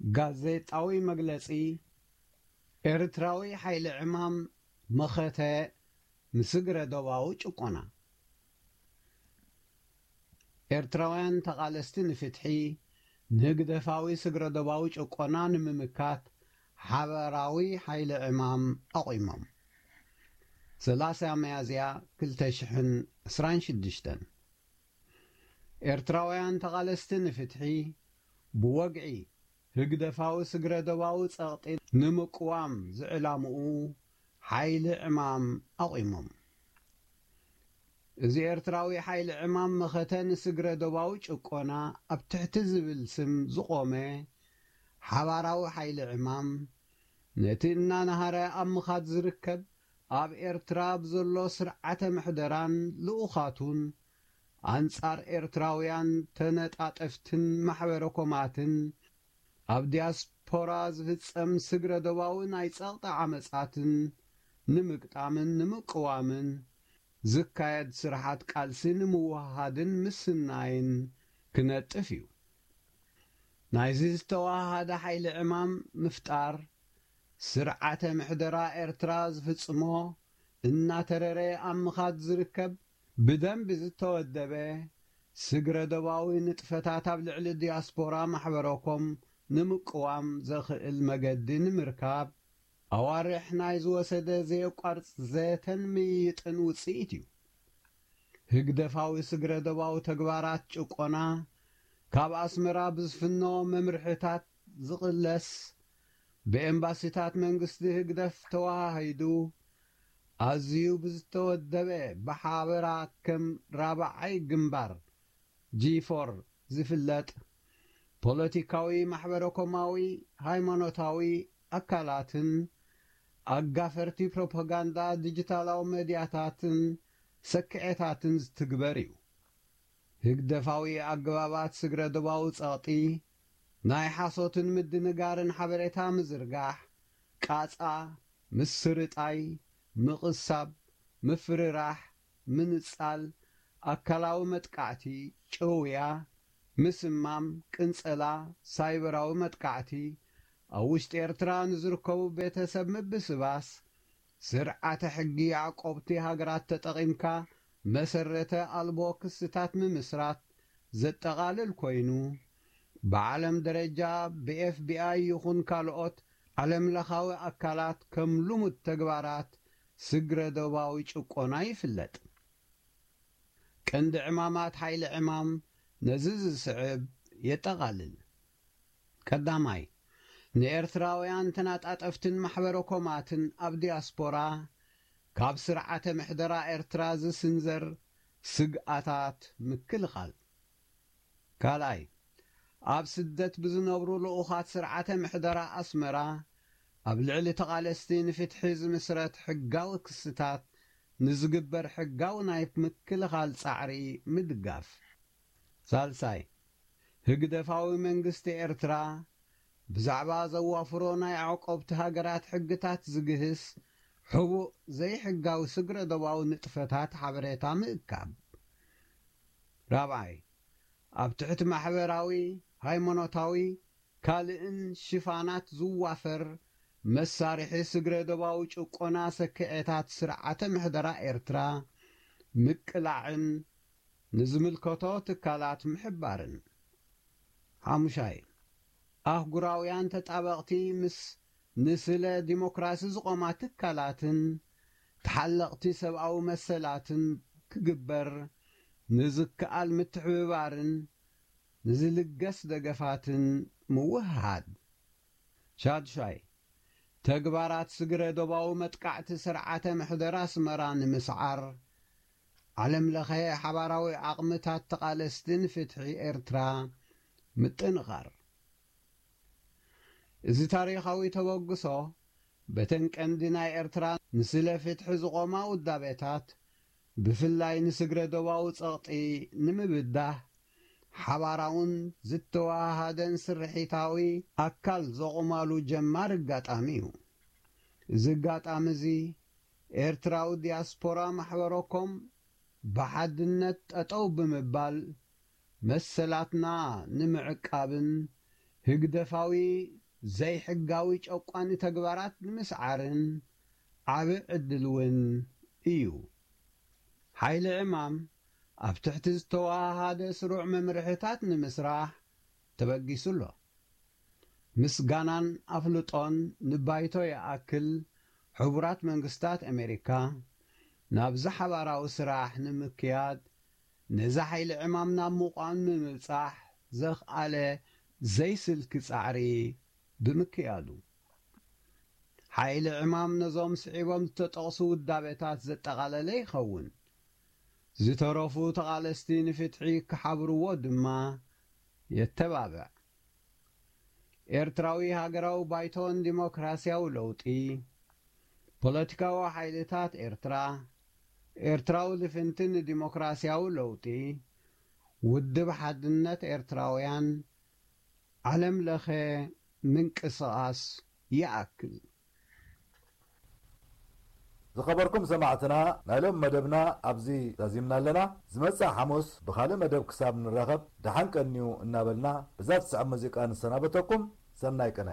ጋዜጣዊ መግለጺ። ኤርትራዊ ሓይሊ ዕማም መኸተ ንስግረ ዶባዊ ጭቆና። ኤርትራውያን ተቓለስቲ ንፍትሒ፣ ንህግደፋዊ ስግረ ዶባዊ ጭቆና ንምምካት ሓበራዊ ሓይሊ ዕማም ኣቑሞም። ሰላሳ ሚያዝያ ክልተ ሽሕን ዕስራን ሽዱሽተን። ኤርትራውያን ተቓለስቲ ንፍትሒ፣ ብወግዒ ህግደፋዊ ስግረ ዶባዊ ጸቕጢ ንምቅዋም ዝዕላምኡ ሓይሊ ዕማም ኣቑሞም። እዚ ኤርትራዊ ሓይሊ ዕማም መኸተ ንስግረ ዶባዊ ጭቆና ኣብ ትሕቲ ዝብል ስም ዝቖመ ሓባራዊ ሓይሊ ዕማም፣ ነቲ እናነሃረ ኣብ ምኻድ ዝርከብ ኣብ ኤርትራ ብዘሎ ስርዓተ ምሕደራን ልኡኻቱን ኣንጻር ኤርትራውያን ተነጣጠፍትን ማሕበረ ኮማትን ኣብ ዲያስፖራ ዝፍጸም ስግረ ዶባዊ ናይ ጸቕጢ ዓመጻትን ንምግጣምን ንምቅዋምን ዝካየድ ስርሓት ቃልሲ ንምውሃድን ምስናይን ክነጥፍ እዩ። ናይዚ ዝተዋሃደ ሓይሊ ዕማም ምፍጣር፣ ስርዓተ ምሕደራ ኤርትራ ዝፍጽሞ እናተረረ ኣብ ምኻድ ዝርከብ ብደንቢ ዝተወደበ ስግረ ዶባዊ ንጥፈታት ኣብ ልዕሊ ዲያስፖራ ማሕበረኮም ንምቅዋም ዘኽእል መገዲ ንምርካብ ኣዋርሕ ናይ ዝወሰደ ዘየቋርጽ ዘተን ምይይጥን ውጽኢት እዩ። ህግደፋዊ ስግረ ዶባዊ ተግባራት ጭቆና ካብ ኣስመራ ብዝፍኖ መምርሕታት ዝቕለስ፣ ብኤምባሲታት መንግስቲ ህግደፍ ተወሃሂዱ፣ ኣዝዩ ብዝተወደበ ብሓበራ ከም ራብዓይ ግንባር፣ ጂ ፎር፣ ዝፍለጥ ፖለቲካዊ፣ ማሕበረኮማዊ፣ ሃይማኖታዊ ኣካላትን ኣጋፈርቲ ፕሮፓጋንዳ ዲጂታላዊ መድያታትን ሰክዔታትን ዝትግበር እዩ። ህግደፋዊ ኣገባባት ስግረ ዶባዊ ጸቕጢ፣ ናይ ሓሶትን ምድንጋርን ሓበሬታ ምዝርጋሕ፣ ቃጻ፣ ምስርጣይ፣ ምቕሳብ፣ ምፍርራሕ፣ ምንጻል፣ ኣካላዊ መጥቃዕቲ፣ ጭውያ፣ ምስማም፣ ቅንጸላ፣ ሳይበራዊ መጥቃዕቲ፣ ኣብ ውሽጢ ኤርትራ ንዝርከቡ ቤተሰብ ምብስባስ፣ ስርዓተ ሕጊ ዓቆብቲ ሃገራት ተጠቒምካ መሰረተ ኣልቦ ክስታት ምምስራት ዘጠቓልል ኮይኑ፣ ብዓለም ደረጃ ብኤፍ ቢ ኣይ ይኹን ካልኦት ዓለምለኻዊ ኣካላት ከም ልሙድ ተግባራት ስግረ ዶባዊ ጭቆና ይፍለጥ። ቀንዲ ዕማማት ሓይሊ ዕማም ነዚ ዝስዕብ የጠቓልል። ቀዳማይ፣ ንኤርትራውያን ተናጣጠፍትን ማሕበረ ኮማትን ኣብ ዲያስፖራ ካብ ስርዓተ ምሕደራ ኤርትራ ዝስንዘር ስግኣታት ምክልኻል። ካልኣይ፣ ኣብ ስደት ብዝነብሩ ልኡኻት ስርዓተ ምሕደራ ኣስመራ ኣብ ልዕሊ ተቓለስቲ ንፍትሒ ዝምስረት ሕጋዊ ክስታት ንዝግበር ሕጋዊ ናይ ምክልኻል ጻዕሪ ምድጋፍ። ሳልሳይ፣ ህግደፋዊ መንግስቲ ኤርትራ ብዛዕባ ዘዋፍሮ ናይ ኣዕቆብቲ ሃገራት ሕግታት ዝግህስ ሕቡእ ዘይሕጋዊ ስግረ ዶባዊ ንጥፈታት ሓበሬታ ምእካብ። ራብዓይ፣ ኣብ ትሕቲ ማሕበራዊ፣ ሃይማኖታዊ፣ ካልእን ሽፋናት ዝዋፈር መሳርሒ ስግረ ዶባዊ ጭቆና ሰክዔታት ስርዓተ ምሕደራ ኤርትራ ምቅላዕን ንዝምልከቶ ትካላት ምሕባርን። ሓሙሻይ፣ ኣህጉራውያን ተጣበቕቲ ምስ ንስለ ዲሞክራሲ ዝቖማ ትካላትን ተሓለቕቲ ሰብኣዊ መሰላትን ክግበር ንዝከኣል ምትሕብባርን ንዝልገስ ደገፋትን ምውህሃድ። ሻድሻይ፣ ተግባራት ስግረ ዶባዊ መጥቃዕቲ ስርዓተ ምሕደራ ኣስመራ ንምስዓር፣ ዓለም ለኸ ሓባራዊ ዓቕምታት ተቓለስቲ ንፍትሒ ኤርትራ ምጥንኻር። እዚ ታሪኻዊ ተበግሶ፣ በተን ቀንዲ ናይ ኤርትራ ንስለ ፍትሒ ዝቖማ ውዳቤታት፣ ብፍላይ ንስግረ ዶባዊ ጸቕጢ ንምብዳህ፣ ሓባራውን ዝተወሃሃደን ስርሒታዊ ኣካል ዘቑማሉ ጀማር ኣጋጣሚ እዩ። እዚ ኣጋጣሚ እዚ፣ ኤርትራዊ ዲያስፖራ ማሕበረኮም ብሓድነት ጠጠው ብምባል፣ መሰላትና ንምዕቃብን ህግደፋዊ ዘይሕጋዊ ጨቋኒ ተግባራት ንምስዓርን ዓቢ ዕድል እውን እዩ። ሓይሊ ዕማም ኣብ ትሕቲ ዝተወሃሃደ ስሩዕ መምርሕታት ንምስራሕ ተበጊሱ ኣሎ። ምስጋናን ኣፍልጦን ንባይቶ ይኣክል፣ ሕቡራት መንግስታት ኣሜሪካ ናብዚ ሓባራዊ ስራሕ ንምክያድ ነዚ ሓይሊ ዕማም ናብ ምቋም ንምብጻሕ ዘኽኣለ ዘይስልኪ ጻዕሪ ብምክያዱ። ሓይሊ ዕማም ነዞም ስዒቦም ዝተጠቕሱ ውዳቤታት ዘጠቓለለ ይኸውን። ዝተረፉ ተቓለስቲ ንፍትሒ ክሓብርዎ ድማ የተባብዕ። ኤርትራዊ ሃገራዊ ባይቶን ዲሞክራስያዊ ለውጢ፣ ፖለቲካዊ ሓይልታት ኤርትራ፣ ኤርትራዊ ልፍንቲ ንዲሞክራስያዊ ለውጢ፣ ውድብ ሓድነት ኤርትራውያን፣ ዓለም ለኸ ምንቅስቓስ ይኣክል። ዝኸበርኩም ሰማዕትና፣ ናይ ሎም መደብና ኣብዚ ዛዚምና ኣለና። ዝመጽእ ሓሙስ ብኻልእ መደብ ክሳብ ንራኸብ ደሓን ቀንዩ እናበልና፣ ብዛ ትስዕብ ሙዚቃ ንሰናበተኩም። ሰናይ ቅነ።